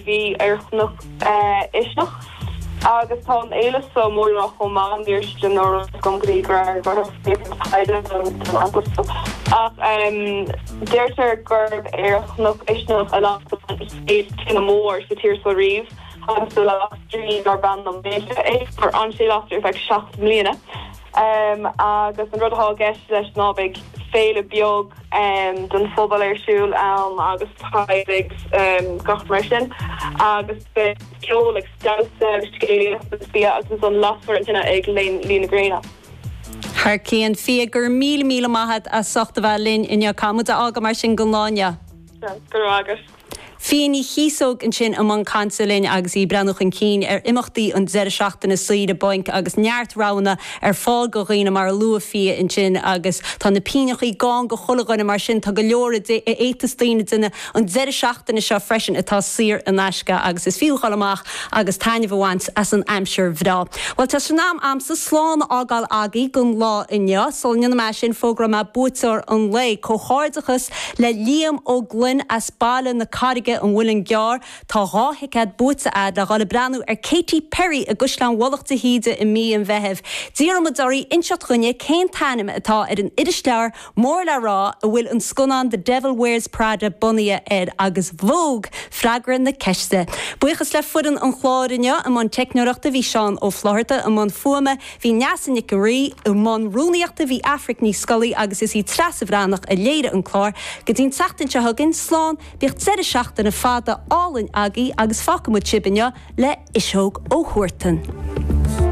bhí ar Chnoc Uisneach agus tá an fhéile seo mór le rá chomh maith, ní raibh fhios agam go dtí go raibh taighde don eaglas seo ach deirtear gurb ar Chnoc Uisneach a lasadh an chéad tine mhór sa tír seo riamh agus do las draoi darb ainm Maide é gur fhan sé lasta ar feadh 7 mbliana agus an rud atá i gceist leis ná beidh féile beag don phobal ar siúl ann agus teaghlaigh agus gach mar sin agus beidh ceol agus damhsa agus scéalaíocht agus bia agus ansan lasfar an tine ag luí na gréine. Thar cionn. Fia, go raibh míle míle maith agat as ucht a bheith linn inniu. Caithfidh muid a fhágáil mar sin don lá inniu. Go raibh maith agat. Fia Ní Chíosóg ansin i mbun cainte linn agus í ag breathnú chun cinn ar imeachtaí an deireadh seachtaine saoire bainc agus neart roghanna ar fáil go dhaoine mar a luaigh Fia ansin agus tá na pínneachaí gann go chuile dhuine mar sin tá go leor a fhéadfas daoine déanamh an deireadh seachtaine seo freisin atá saor in aisce agus is fiú dhul amach agus taitneamh a bhaint as an aimsir bhreá. Bhuel tá sé in am a'msa slán a fhágáil agaibh don lá inniu. Sula ndéanfaidh mé sin fógróidh mé buaiteoir an lae. Comhghairdeachas le Liam Ó Gloinn as Baile na Carraige, An Muileann gCearr. Tá 2 thicéad buaite a'd le dhul ag breathnú ar Katy Perry i gCaisleán Mhullach de hÍde i mí an Mheithimh. D'iarr muid oraibh inseacht dhuinne cén t-ainm atá ar an irisleabhar mór le rá a bhfuil an scannán The Devil Wears Prada bunaithe air agus Vogue freagra na ceiste. Buíochas le foireann an chláir inniu, i mbun teicneoireachta bhí Seán Ó Flaithearta, i mbun fuaime bhí Neasa Nic an Rí, i mbun rúnaíochta bhí Aifric Ní Scolaí agus is í Treasa Bhreathnach a léirigh an clár. Go dtí an tseachtain seo chugainn, slán, bíodh deireadh seachtaine fada álainn agaibh agus fágfaidh muid sibh inniu le Uiseog Ó Huartan.